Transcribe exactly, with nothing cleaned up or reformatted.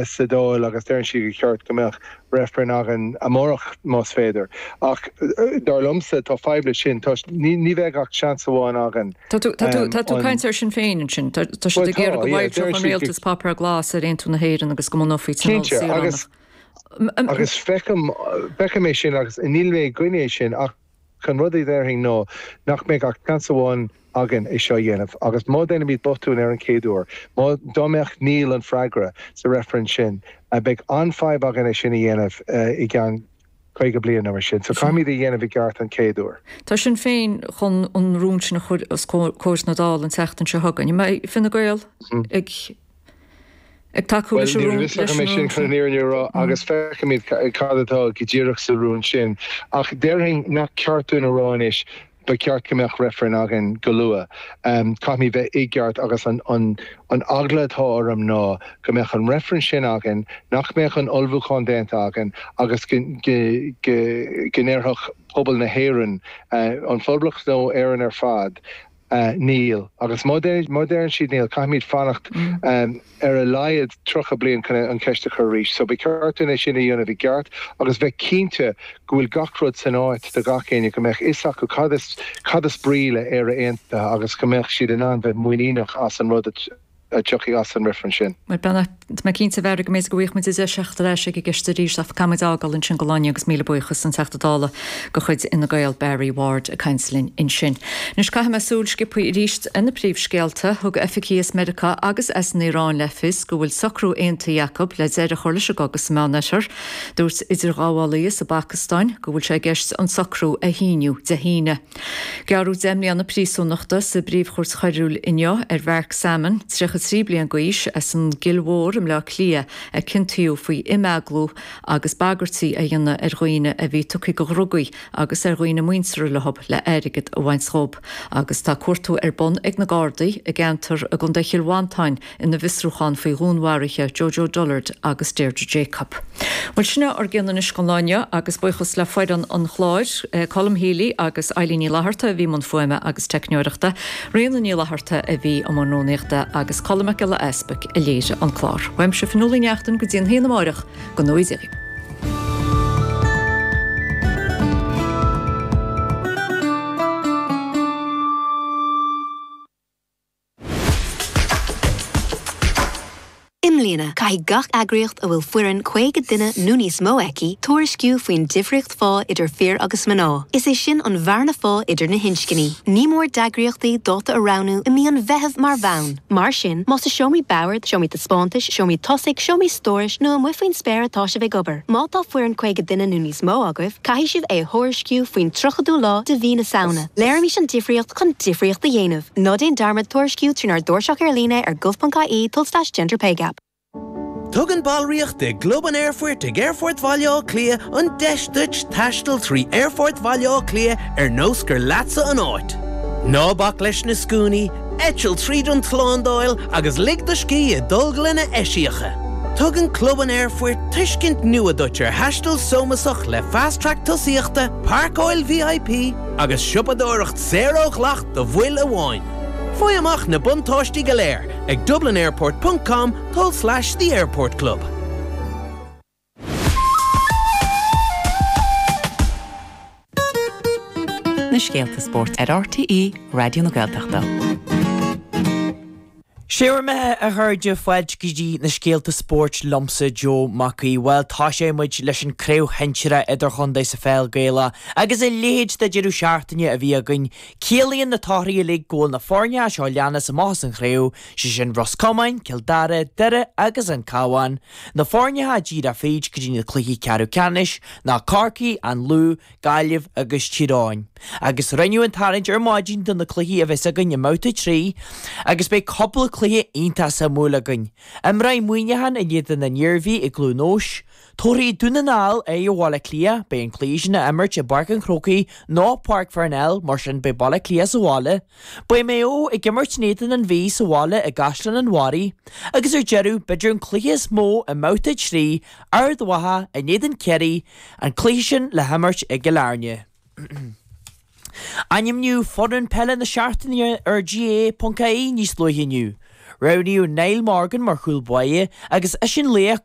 sa Dáil agus deireann siad gur cheart go mbeadh reifreann againn amárach más féidir. Ach dar liomsa tá fadhb leis sin ní ní bheidh ach seans amháin againn. Tá tú ag caint ar Sinn Féin ansin, tá siad ag iarraidh go bhfoilseodh an rialtas páipéar glas ar aontú na hÉireann agus go mbunófaí tionól saoránach. Agus feicim feicim é sin agus níl mé i gcoinne sin ach an rud a déarfainn ná nach mbeidh ach seans amháin againn é seo a dhéanamh. Agus má déanaimid botún ar an chéad uair, má dá mbeadh níl an freagra sa reifreann sin, beidh an-fhadhb againn é sin a dhéanamh i gceann caoga bliain nó mar sin. So caithfimid a dhéanamh i gceart an chéad uair. Tá Sinn Féin chun an rún sin a chur os comhair na Dála an tseachtain seo chugainn. An mbeidh Fine Gael ag ag tacú leis an rún leis an rún sin chun an fhírinne a rá agus feicfimid cad atá go díreach sa rún sin. Ach déarfainn nach ceart dúinn a rá anois ba cheart go mbeadh reifreann againn go luath. Caithfimid bheith i gceart agus an an an eagla atá orm ná go mbeadh an reifreann sin againn, nach mbeadh an ullmhúchán déanta againn agus go go go go ndéarfadh pobal na hÉireann, an Phoblacht nó Éireann ar fad, Níl. Agus má deireann siad níl, caithfimid fanacht ar a laghad tríocha bliain chun an cheist a chur arís. So ba cheart dúinn é sin a dhéanamh i gceart agus bheith cinnte go bhfuil gach rud san áit do gach éinne, go mbeadh fhios acu cad is cad is brí le Éire Aontaithe agus go mbeadh siad in ann bheith muiníneach as an rud a a tiocfaidh as an reifreann sin. Bhuel, tá mé cinnte, a Bharry, go mb'fhéidir go bhfaighidh muid deis teacht ar ais ag an gceist arís ach caithfimid fhágáil ansin don lá inniu agus míle buíochas an Teachta Dála de chuid Fhine Gael, Barry Ward ag caint linn ansin. Anois caithfidh mé súil sciobtha arís ar na príomhscéalta. Thug oifigigh as Meiriceá agus as an Iaráin le fios go bhfuil socrú aontaithe acu le deireadh a chur leis an gcogadh sa Meánoirthear. Dúirt idirghabhálaí sa bPacastáin go bhfuil sé i gceist an socrú a shíniú Dé hAoine. Gearradh deich mbliana príosúnachta sa bPríomhchúirt Choiriúil inniu ar Mhark Salmon, tríocha trí bliain d'aois, as an gCill Mhór i mBleá Cliath a ciontaíodh faoi imeaglú agus bagairtí a dhéanamh ar dhaoine a bhí tugtha do dhrugaí agus ar dhaoine muinteartha leo le airgead a bhaint dhóibh. Agus tá cuartú ar bun ag na Gardaí i gceantar i gContae Chill Mhantáin ina bhfiosrúchán faoi dhúnmharuithe Jojo Dullard agus Deirdre Jacob. Bhuel sin é ár gcion anois don lá inniu agus buíochas le foireann an chláir, Colm Healy agus Eilín Ní Fhlatharta a bhí i mbun fuaime agus teicneoireachta, Ríona Ní Fhlatharta a bhí i mbun rúnaíochta agus Colm Mac Giolla Easpaig a léirigh an clár. Uaimse Fionnuala Ní Neachtain go dtí an haon amárach go ngnóthaí Dia dhaoibh. I mbliana, caithfidh gach eagraíocht a bhfuil foireann caoga duine nó níos mó aici tuairisciú faoin difríocht phá idir fir agus mná. Is é sin an bhearna phá idir na hinscní. Ní mór d'eagraíochtaí dáta a roghnú i mí an Mheithimh mar bhonn. Mar sin, más i seomraí boird, seomraí taispeántais, seomraí tosaigh, seomraí stórais nó amuigh faoin spéir atá sibh ag obair, má tá foireann caoga duine nó níos mó agaibh, caithfidh sibh é a thuairisciú faoin tríochadú lá de mhí na Samhna. Léirímis an difríocht chun difríocht a dhéanamh. Ná déan dearmad tuairisciú trínár dtairseach ar líne ar gov.ie tulslais gender pay gap. Tugann ballraíocht i gClub an Aerfoirt ag Aerfort Bhaile Átha Cliath an deis duit taisteal trí Aerfort Bhaile Átha Cliath ar nós gur leatsa an áit. Ná bac leis na scuainí, eitil tríd an tslándáil agus lig do scíth i dtolglanna eisiacha. Tugann Club an Aerfoirt tuiscint nua duit ar thaisteal sómasach le Fast Track tosaíochta, páirceáil V I P agus siopadóireacht saor ó dhleacht do bhaill amháin. Faigh amach na buntáistí go léir ag dublinairport dot com tulslais The Airport Club. Na scéalta spóirt ar R T É Raidió na Gaeltachta. Sé bhur mbeatha, a chairde, fáilte go dtí na scéalta spóirt liomsa Joe Mac Aoidh. Bhuel, tosóidh muid leis an craobh shinsearach idirchontae sa pheil Gaelach agus a leithéid de deireadh seachtaine a bhí againn. Ciallaíonn na torthaí uilig go bhfuil na foirne seo leanas amach as an chraobh, sé sin Ros Comáin, Cill Dara, Doire agus an Cabhán. Na foirne atá díreach fríd go dtí na cluichí ceathrú ceannais ná Corcaigh, an Lú, Gaillimh agus Tír Eoghain. Agus rinneadh an tarraingt ar maidin do na cluichí a bheas againn i mbabhta trí agus beidh cúpla cluiche iontach suimiúil againn. Imreoidh Muineachán in éadan an Iarmhí i gCluain Eois, Tabharfaidh Dún na nGall aghaidh ar Bhaile Átha Cliath, beidh an cluiche sin á imirt i bPáirc an Chrócaigh nó Páirc Pharnell, mar sin beidh Baile Átha Cliath sa bhaile. Beidh Maigh Eo ag imirt in éadan an Mhí sa bhaile i gCaisleán an Bharraigh. Agus ar deireadh, b'fhéidir an cluiche is mó i mbabhta trí, Ard Mhacha in éadan Ciarraí, an cluiche sin le himirt i gCill Airne. Ainmníodh foireann peile na seachtaine ar G A A ponc I E níos luaithe inniu. Roghnaíodh Niall Morgan mar chúl báire agus eisean laoch